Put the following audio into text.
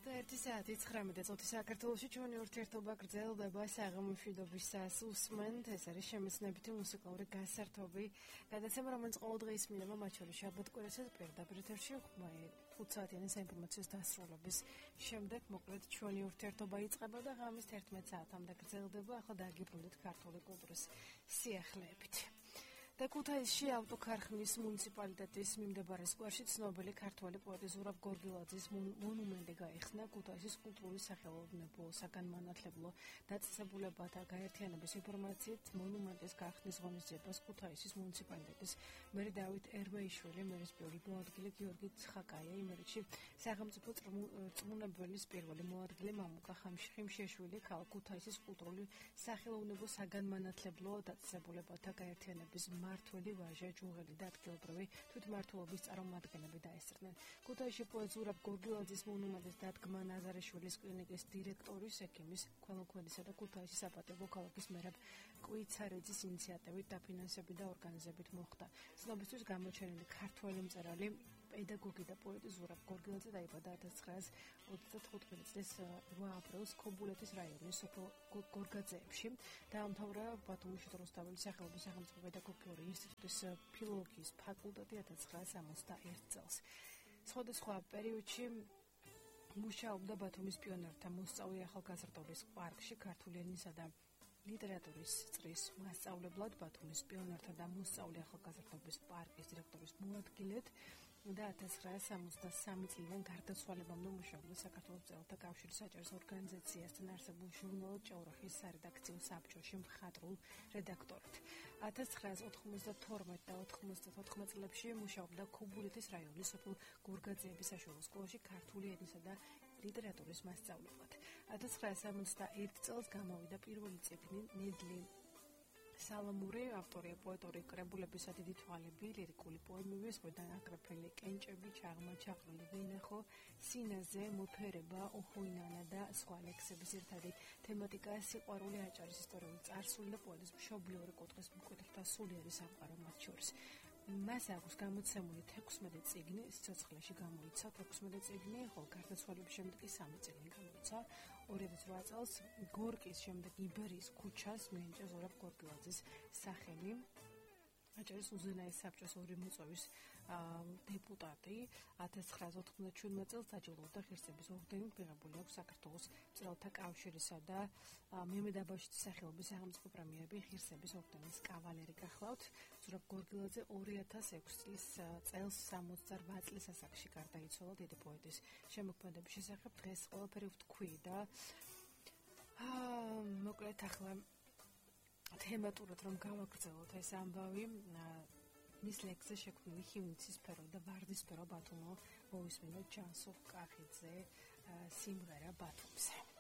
21 საათი 19 წუთი საქართველოში ჩვენი ურთიერთობა გრძელდება საღამომშვიდობისას უსმენთ ეს არის შემეცნებითი მუსიკალური გასართობი გადაცემა რომელიც ყოველდღე ისმინება მათ შორის შაბათ-კვირასაც პირდაპირ ეთერში 5 საათიანი საინფორმაციო დასრულების შემდეგ მოკლედ ჩვენი ურთიერთობა იწყება და ღამის 11 საათამდე გრძელდება ახლა დაგიბრუნდით ქართული კულტურის სიახლეებით და ქუთაისში ავტოქარხნის მუნიციპალიტეტის მიმდებარე სკვერში ცნობილი ქართველი პოეტი ზურაბ გორგილაძის მონუმენტი გაიხსნა ქუთაისის კულტურული სახელოვნებო საგანმანათლებლო დაწესებულებათა გაერთიანების ინფორმაციით მონუმენტის გახსნის ღონისძიებას ქუთაისის მუნიციპალიტეტის მერი დავით ერმეიშვილი მერის პირველი მოადგილე გიორგი ცხაკაია იმერეთში სახელმწიფო წმუნებელის პირველი მოადგილე მამუკა ხიმშეშვილი ქალაქ ქუთაისის კულტურული სახელოვნებო საგანმანათლებლო დაწესებულებათა გაერთიანების მართველი ვაჟა ჯუღელი და ადგილობრივი თვითმმართველობის წარმომადგენლები დაესწრნენ. ქუთაისში პოეტ ზურაბ გორგილაძის მონუმენტის დადგმა ნაზარიშვილის კლინიკის დირექტორის ექიმის ქველმოქმედისა და ქუთაისის საპატიო ქალაქის მერაბ კვიცარეძის ინიციატივით დაფინანსებით და ორგანიზებით მოხდა. ცნობისთვის გამოჩენილი ქართველი მწერალი პედაგოგი და პოეტი ზურაბ გორგილაძე დაიბადა 1935 წლის 8 აპრილს ქობულეთის რაიონის სოფელ გორგაძეებში. დაამთავრა ბათუმის რუსთაველის სახელობის სახელმწიფო პედაგოგიური ინსტიტუტის ფილოლოგიის ფაკულტეტი 1961 წელს. სხვადასხვა პერიოდში მუშაობდა ბათუმის პიონერთა მოსწავლე ახალგაზრდობის პარკში ქართული ენისა და ლიტერატურის წრის მასწავლებლად ბათუმის პიონერთა და მოსწავლე ახალგაზრდობის პარკის დირექტორის მოადგილედ და 1963 წლიდან გარდაცვალებამდე მუშაობდა საქართველოს მწერალთა კავშირის საჭირო ორგანიზაციასთან არსებულ ჟურნალ ჭაურახის სარედაქციო საბჭოში მხატვრულ რედაქტორად. 1992 და 1994 წლებში მუშაობდა ქობულეთის რაიონის სოფელ გორგაძეების საშუალო სკოლაში ქართული ენისა და ლიტერატურის მასწავლებლად. 1971 წელს გამოვიდა პირველი წიგნი ნედლი სალამური ავტორია პოეტური კრებულებისა დიდი თვალები, ლირიკული პოემები, სხვადასხვა აკრეფილი კენჭები, ჩაღმა-ჩაღრული ვინახო, სინაზე, მოფერება, ოხუინანა და სხვა ლექსების ერთადი თემატიკა სიყვარული, აჭარის ისტორიული წარსული და პოეტის მშობლიური კუთხის მკვეთრთა სულიერი სამყარო მათ შორის. მას აქვს გამოცემული 16 წიგნი, სიცოცხლეში გამოიცა 16 წიგნი, ხოლო გარდაცვალების შემდეგ კი 3 წიგნი გამოიცა. 2008 წელს გორკის შემდეგ იბერიის ქუჩას მიენიჭა ზურაბ გორგილაძის სახელი. აჭარის უზენაეს საბჭოს ორი მოწვევის დეპუტატი 1997 წელს დაჯილდოვდა ღირსების ორდენით მიღებული აქვს საქართველოს მწერალთა კავშირისა და მემედ აბაშიძის სახელობის სახელმწიფო პრემიები ღირსების ორდენის კავალერი გახლავთ. ზურაბ გორგილაძე 2006 წელს 68 წლის ასაკში გარდაიცვალა დიდი პოეტის შემოქმედების შესახებ დღეს ყველაფერი ვთქვი და მოკლედ ახლა თემატურად რომ გავაგრძელოთ ეს ამბავი მის ლექსზე შექმნილი ხივნიცისფერო და ვარდისფერო ბათუმო მოვისმენთ ჯანსუღ კახიძე სიმღერა ბათუმზე.